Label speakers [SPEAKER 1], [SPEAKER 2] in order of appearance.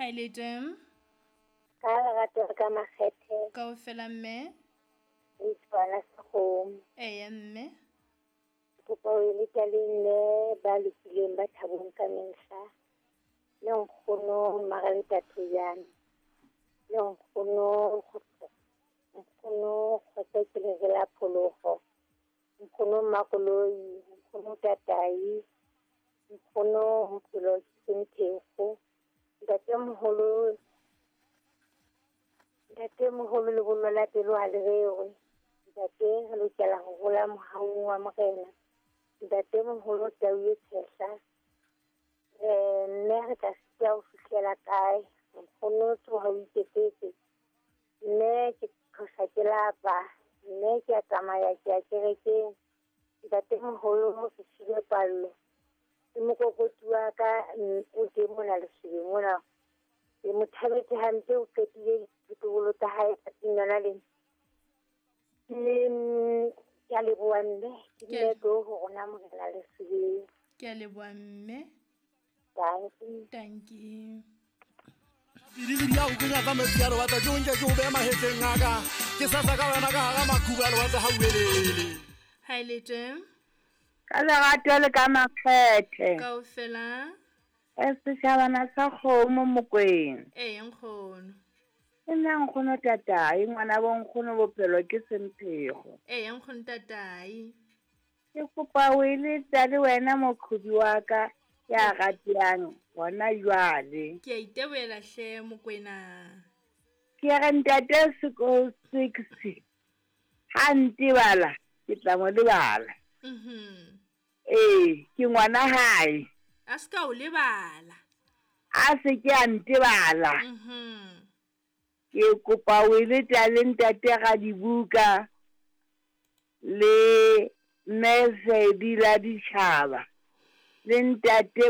[SPEAKER 1] Ha e le teng.
[SPEAKER 2] Ka lerato le ka makgethe.
[SPEAKER 1] Kaofela mme.
[SPEAKER 2] Le tswana sekgomo.
[SPEAKER 1] Eya mme.
[SPEAKER 2] Kopa o le le nne ba lokileng ba thabong ka mehla. Le nkgono Maraleta Thojane. Le nkgono nkgono Kgotso ke lere la pholoho. Nkgono Makoloi, nkgono Tatai, nkgono Bophelo Semphego. Ntatemoholo Ntatemoholo lebollo la pelo ha le rerwe. Ntate re lokela ho hola mohaung wa Morena. Ntatemoholo tau e tshehla. Mme re tla sitwa ho fihlela kae? Nkgono tsoha o iketsetse. Mme ke qhosa ke lapa. Mme ke a tsamaya ke ya kerekeng. Ntatemoholo re filwe pallo. Ke mokokoti wa ka o teng mona Lesobeng mona. Ke mo thabetse hampe o qetile ditobolo tsa hae tsatsing lona lena. Ke a leboha mme. Ke mme tlo ho rona Morena Lesobeng.
[SPEAKER 1] Ke a leboha mme.
[SPEAKER 2] Dankie.
[SPEAKER 1] Dankie.
[SPEAKER 3] Bidibidi ya ho kenya tsa metsi a lewatle ke o nke ke o behe mahetleng a ka. Ke sasa ka wena ka hara makhubu a lewatle hauhelele.
[SPEAKER 1] Ha e le teng.
[SPEAKER 4] Ka lerato le ka makgethe.
[SPEAKER 1] Kaofela.
[SPEAKER 4] E setjhabana sa kgomo Mokweng.
[SPEAKER 1] Ee nkgono.
[SPEAKER 4] E nna nkgono Tatai, ngwana bo nkgono Bophelo ke Semphego.
[SPEAKER 1] Ee nkgono Tatai.
[SPEAKER 4] Ke kopa o eletsa le wena moqhobi wa ka ya ratehang hona jwale.
[SPEAKER 1] Ke a itebohela hle Mokwena.
[SPEAKER 4] Ke re ntate Seko 6 ha ntebala ke tla mo lebala. Ee, ke ngwana hae.
[SPEAKER 1] A se ka o lebala.
[SPEAKER 4] A se ke a ntebala. Ke kopa o eletsa le ntate Radibuka le mme Sedi la ditjhaba le ntate